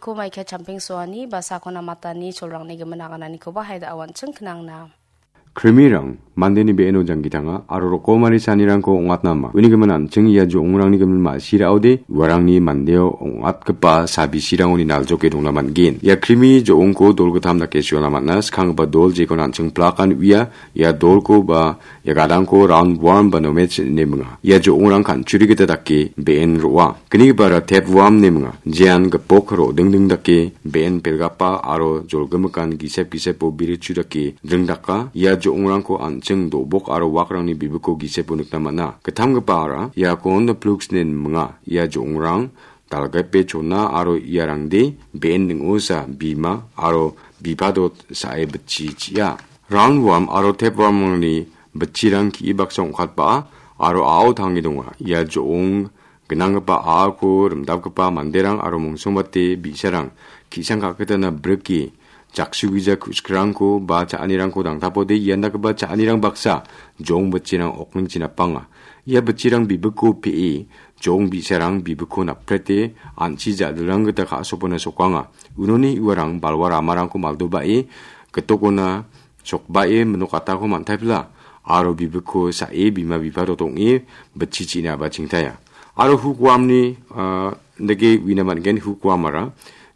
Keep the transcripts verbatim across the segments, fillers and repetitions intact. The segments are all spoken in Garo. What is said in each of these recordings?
Ko maika champeng soani ba sakona matani cholrangni gimin agananikoba haida awanching knangna. Krimirang mandeni be·eno janggi tanga aro rokomari sanirangko ong·atna ama. Uni gimin an·ching ia jo·ongrangni gimin ma·sirao de uarangni mandeo ong·atgipa sabisirangoni naljoke dongna man·gen. Ia krimi jo·ongko dol gittam dake suana man·a, skanggipa dol jekon an·ching plakan uia, ia dolko ba ia gadangko round worm ba nomech ine minga. Ia jo·ongrang kan·churi gita dake be·en ro·a. Gnigipara tapeworm ine minga. Jean gipok ro·dingding dake be·en pelgapa aro jolgimikan gisep gisepo birichu dake dringdaka. Ia jo·ongrangko an·ching do·bok aro wakrangni bibiko gisepo nikna man·a. Gittamgipara iako Honda Plux ine minga. Ia jo·ongrang dalgape chona aro iarangde be·en ning·osa bima aro bipadot sa·e bitchi chi·a. Round worm aro tapewormrangni bitchirang ki·i baksa ong·katba·a aro a·o tange donga. Ia jo·ong gnanggipa a·ako rimdapgipa manderang aro mongsombate bi·sarang ki·sang ka·kitana brike jaksugija ku·sikrangko ba cha·anirangko dangtapode ian dakgipa cha·anirang baksa jo·ong bitchirang okningchi napanga. Ia bitchirang bibiko pe·e jo·ong bi·sarang bibiko naprete an·chi ja·dilrang gita ka·sopona sokanga. Unoni uarang balwa ramarangko maldoba·e gitokona sokbae minok atako man·taipila aro bibiko sa·e bima bipado dong·e bitchi chi·na ba chingtaya. Aro hukwaamni, ah, dake uina man·gen hukwaamara.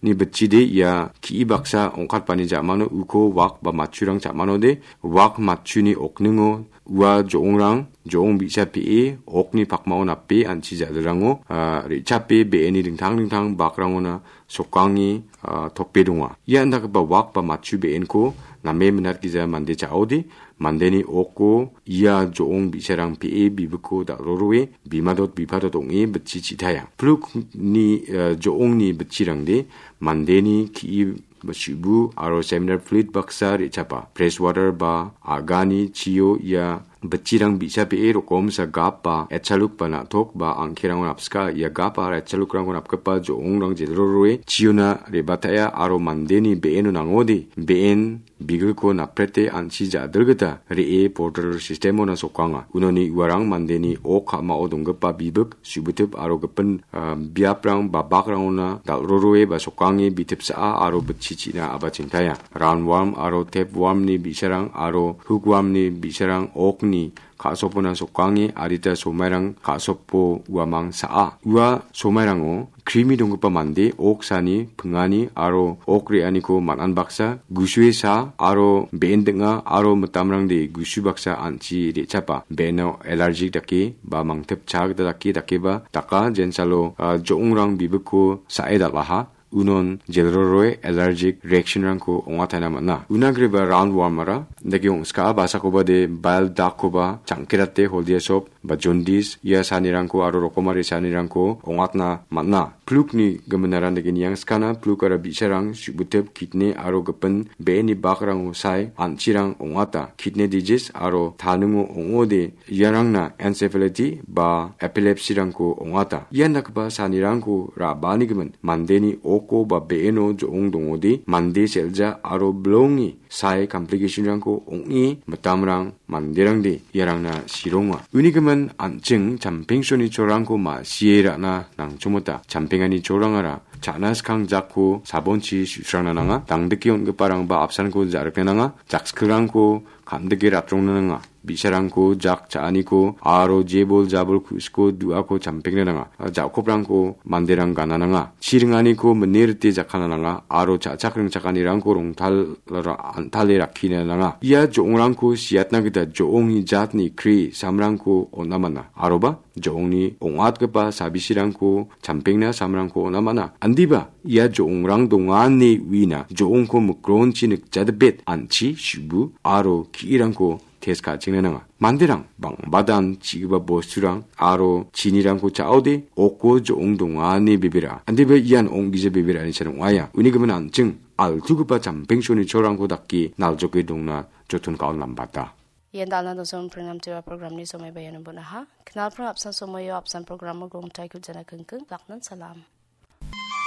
Ni bitchide ia ki·i baksa ong·katbani ja·mano uko wak ba matchurang cha·manode wak matchuni okningo ua jo·ongrang jo·ong bi·sa pe·e okni pakmao nape an·chi ja·dilrango, ah, re·chape be·eni dingtang dingtang bakrangona sokange, ah, tope donga. Ia indakgipa wak ba matchu be·enko name minatgija mande cha·ode, mandeni oko ia jo·ong bi·sarang pe·e bibiko dal·roroe, bimadot bipadot ong·e bitchi chi·taia. Plukni, ah, jo·ongni bitchirangde mandeni ki·i ba su·bu aro seminar plit baksa re·chapa. Fresh water ba a·gani chio ia bitchirang bi·sa pe·e rokomsa gap ba etchaluk ba na·tok ba angkerangon apska. Ia gap aro etchalukrangko napgipa jo·ongrang jelroroe chiona re·bataia aro mandeni be·eno nangode be·en bigilko naprete an·chi ja·dilgita re·e portal sistemona sokanga. Unoni uarang mandeni ok ka·mao donggipa bibik, su·bitip aro gipin, ah, biaprang ba bakrangona dal·roroe ba sokange bitipsa·a aro bitchi chi·na aba chingtaya. Round worm aro tapewormni bi·sarang aro hookwormni bi·sarang okni ka·sopona sokange adita somairang ka·sopo uamang sa·a. Ua somairango krimi donggipa mande ok sani pingani aro ok re·aniko man·an baksa gusue sa aro be·en ding·a aro mitamrangde gusu baksa an·chi re·chapa. Be·eno alergic dake ba mangtip cha gita dake dakeba daka jensalo, ah, jo·ongrang bibiko sa·e dal·aha. Unon jelroroe allergic reactionrangko ong·ataina man·a. Una griba round wormara dake ong·skaa basakoba de bile ductkoba changkerate holdia sop ba jaundice ia sanirangko aro rokomari sanirangko ong·atna man·a. Plukni giminara dake niangskana plukara bi·sarang su·bitip kidney aro gipin be·eni bakrango sae an·chirang ong·ata. Kidney disease aro taningo ong·ode iarangna encephalopathy ba epilepsyrangko ong·ata. Ian dakgipa sanirangko ra·baani gimin mandeni oko ba be·eno jo·ong dongode mande sel·ja aro bilongi sae complicationrangko ong·e mitamrang manderangde iarangna sironga. Uni gimin an·ching champengsoni cholrangko ma·sie ra·na nangchomota. Champengani cholrangara cha·na skang jakko sabonchi su·srangna nanga. Dangdike on·giparangba apsanko ja·rikna nanga. Jakskilrangko kam·dike ratrongna nanga. Bi·sarangko jak cha·aniko aro jebol jabol ku·siko du·ako champengna nanga. Ja·koprangko manderang gana nanga. Chi ringaniko mine rite jakkana nanga aro cha·chak ringchakanirangko rongtal ra-, antale rakkina nanga. Ia jo·ongrangko siatna gita jo·ongni jatni kri samrangko on·a man·a. Aroba jo·ongni ong·atgipa sabisirangko champengna samrangko on·a man·a. Andiba ia jo·ongrang donga ine uina jo·ongko mikronchi nikjadibet an·chi su·bu aro ki·irangko test ka·chengna nanga. Manderang bang·badan chi·gipa bosturang aro chinirangko cha·ode oko jo·ong donga ine bebera. Andiba ian ong·gija bebera ine san ong·aia. Uni gimin an·ching altugipa champengsoni cholrangko dake naljoke dongna joton ka·on lambata. Ian dal·na dosong prinam tiwa programni somaiba iano bon·aha. Knalpra apsan somoio apsan programo gongtai kujana kengkeng. Laknan salam.